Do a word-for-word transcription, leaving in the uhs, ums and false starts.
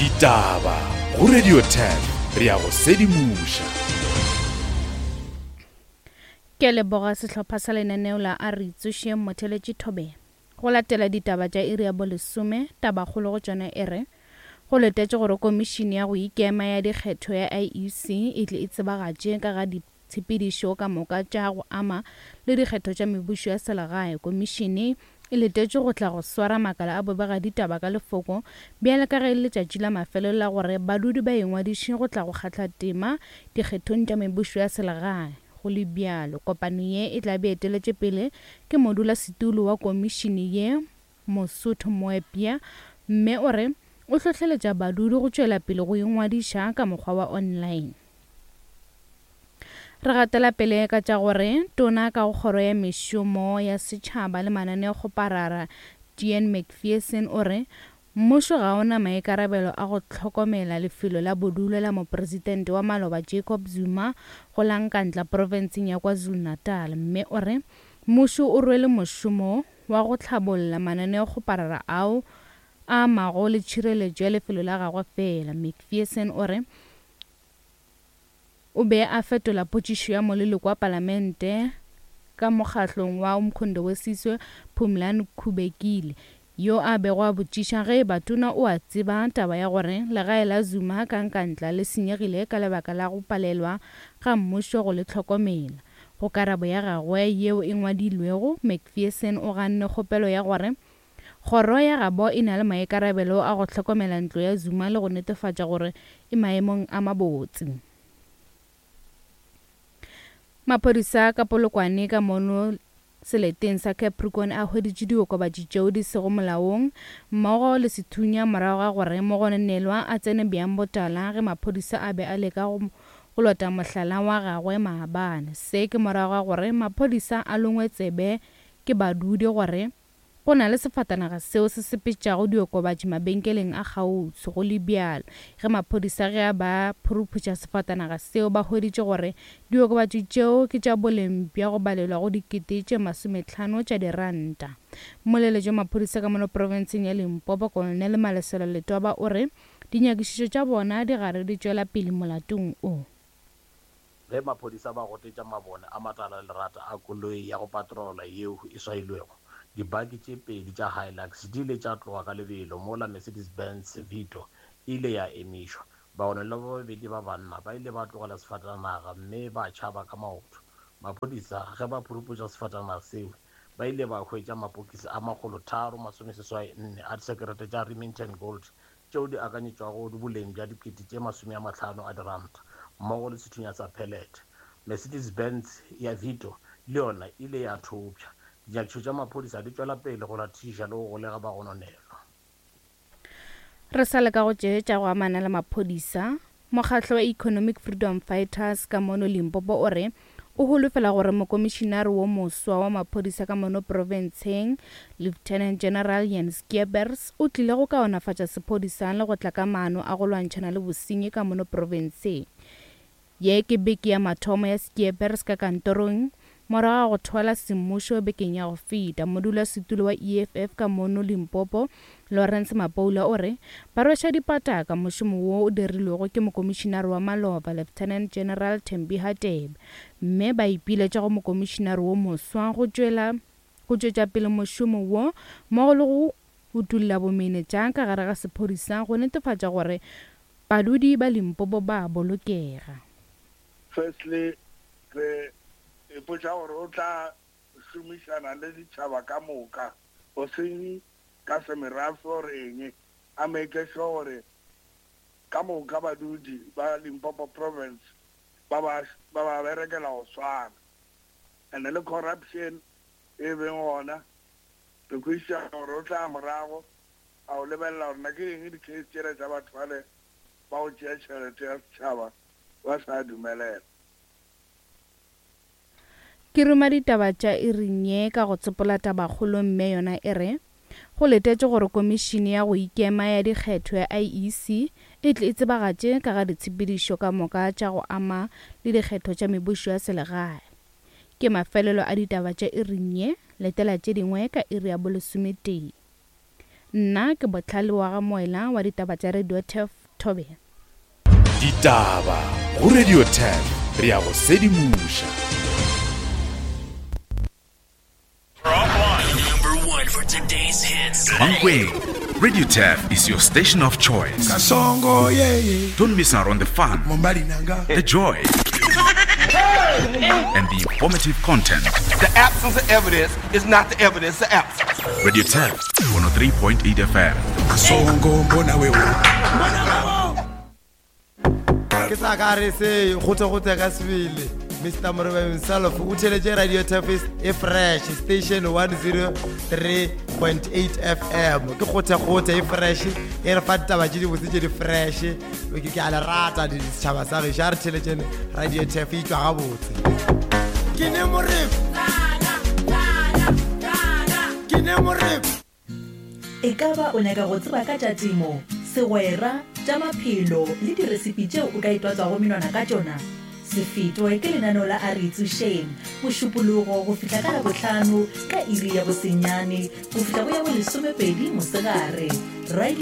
Ditaba go Radio ten re ya go sedimoša. Ke leboga sehlopha sa lenaneo la A Re Itsošeng Motheletši Thobela. Go latela ditaba tša iri ya bolesome, tabakgolo go tšona e re go letetše gore komišene ya go ikema ya dikgetho ya I E C e tle e tsebagatše ka ga ditshepedišo ka moka tša go ama le dikgetho tša mebušo ya selegae. Komišene e letetše go tla go swara makala a bobega ditaba ka lefoko bjale ka ge letšatši la mafelelo la gore badudi ba ingwadiše go tla go kgatha tema dikgethong tša mebušo ya selegae. Go le bjalo, kopano ye e tla be eteletše pele ke modulasetulo wa komišene ye Mosotho Moepya, mme o re o hlohleletša badudi go tšwela pele go ingwadiša ka mokgwa wa online. Re gatela pele ka tša gore tona ka go kgoro ya mešomo ya setšhaba le mananeokgoparara Jean McPherson o re mmušo ga ona maikarabelo a go hlokomela lefelo la bodulo la mopresidente wa maloba Jacob Zuma go la Nkandla profenseng ya KwaZulu-Natal, mme o re mmušo o rwele mošomo wa go hlabolla mananeokgoparara ao a amago le tšhireletšo ya lefelo la gagwe fela. McPherson o re o be a fetola potšišo ya moleloko wa palamente ka mokgahlong wa Umkhonto we Sizwe Phumlani Khubekile yo a bego a botšiša ge eba tona o a tseba taba ya gore legae la Zuma ka Nkandla le senyegile ka lebaka la go palelwa ga mmušo go le hlokomela. Go karabo ya gagwe yeo e ngwadilwego, McPherson o ganne kgopelo ya gore kgoro ya gabo e na le maikarabelo a go hlokomela ntlo ya Zuma le go netefatša gore e maemong a mabotse. Maphodisa ka Polokwane ka mono seleteng sa Capricorn a hweditše diokobatši tšeo di sego molaong mmogo le sethunya morago ga gore mogononelwa a tsene bjang botala ge maphodisa a be a leka go go lota mohlala wa gagwe maabane. Se ke morago ga gore maphodisa a longwe tsebe ke badudi gore go na le sefatanaga seo se sepetšago diokobatši mabenkeleng a kgauswi. Go le bjalo, ge maphodisa ge a ba phuruputša sefatanaga seo ba hweditše gore diokobatši tšeo ke tša boleng bja go balelwa go dikete tše masometlhano tša diranta. Mmoleletši wa maphodisa ka mono profenseng ya Limpopo Colonel Malesela Letwaba o re dinyakišišo tša bona di gare di tšwela pele molatong o. Ge maphodisa ba gotetša mabone a matala lerata a koloi ya go patrola yeo e swailwego, dibaki tše pedi tša Hilux di ile tša tloga ka lebelo mola Mercedes-Benz Vito e ile ya emišwa. Bagononelwa ba babedi ba banna ba ile ba tlogela sefatanaga mme ba tšhaba ka maoto. Maphodisa ge ba phuruputša sefatanaga seo ba ile ba hwetša mapokisi a makgolo tharo masomeseswai nne a disekerete tša Remington Gold tšeo di akanyetšwago boleng bja dikete tše masome a mahlano a diranta mmogo le sethunya sa pellet. Mercedes-Benz ya Vito le yona e ile ya thopša. Dinyakišišo tša maphodisa di tšwela pele go latišiša le go golega bagononelwa. Re sa leka go tšeetša go amana le maphodisa. Mokgatlo wa Economic Freedom Fighters ka mono Limpopo o re o holofela gore mokomišinare wo moswa wa maphodisa ka mono profenseng Lieutenant General Jan Skeepers o tlile go kaonafatša sephodisa le go tla ka maano a go lwantšhana le bosenyi ka mono profenseng. Ye ke beke ya mathomo ya Skeepers ka kantorong morago ga go thwala semmušo bekeng ya go feta. Modulasetulo wa E F F ka mono Limpopo Lawrence Mapoula o re ba rweša dipataka mošomo wo o dirilwego ke mokomišinare wa maloba Lieutenant General Thembi Hadebe, mme ba ipiletša go mokomišinare wo moswa go tšwela go tšwetša pele mošomo wo mmogo le go utulla bomenetša ka gare ga sephodisa go netefatša gore badudi ba Limpopo ba bolokega. Firstly, re ipotša gore o tla šomišana le ditšhaba ka moka, go seng ka semerafe or eng, a make sure gore ka moka badudi ba Limpopo province ba ba ba ba berekela go swana. And le corruption e beng gona, re kwešiša gore o tla morago a o lebelela gore na ke eng di-case tšela tša batho bale ba go tšea tšhelete ya setšhaba ba sa dumelela. Ke ruma ditaba tša iring ye ka go tsopola tabakgolo mme yona e re go letetše gore komišene ya go ikema ya dikgetho ya I E C e tle e tsebagatše ka ga ditshepedišo ka moka tša go ama le dikgetho tša mebušo ya selegae. Ke mafelelo a ditaba tša iring ye, letela tše dingwe ka iri ya bolesometee. Nna ke Bohlale wa ga Moela wa ditaba tša Radio Turf Thobela. Ditaba go Radio Turf, re a go sedimoša. Number one for today's hits. Mankweng, Radio Turf is your station of choice. Kasongo, yeah, yeah. Don't miss out on the fun, Mombali nanga. the joy, and the informative content. The absence of evidence is not the evidence of absence. Radio Turf, one oh three point eight F M. Kasongo, mbona wewe. Ke sa ka re se gote gote ka sebele. Mister Morobe himself o theletše Radio Turf e fresh station one oh three point eight F M. Ke gote gote e fresh e re fa ditaba tše dibotse tše di fresh. Ke ke a le rata ditšhaba sa gešo, a re theletšeng Radio Turf e tšwa gabotse. Ke ne Morebe. Ke ne Morebe. E ka ba o nyaka go tseba ka tša temo, segwera, tša maphelo le diresipi tšeo o ka itwatswago menwana ka tšona? Se fetwe ke lenaneo la A Re Itsošeng, Mošupologo go fihla ka Labohlano ka iri ya bosenyane go fihla go ya bolesomepedi mosegare. Radio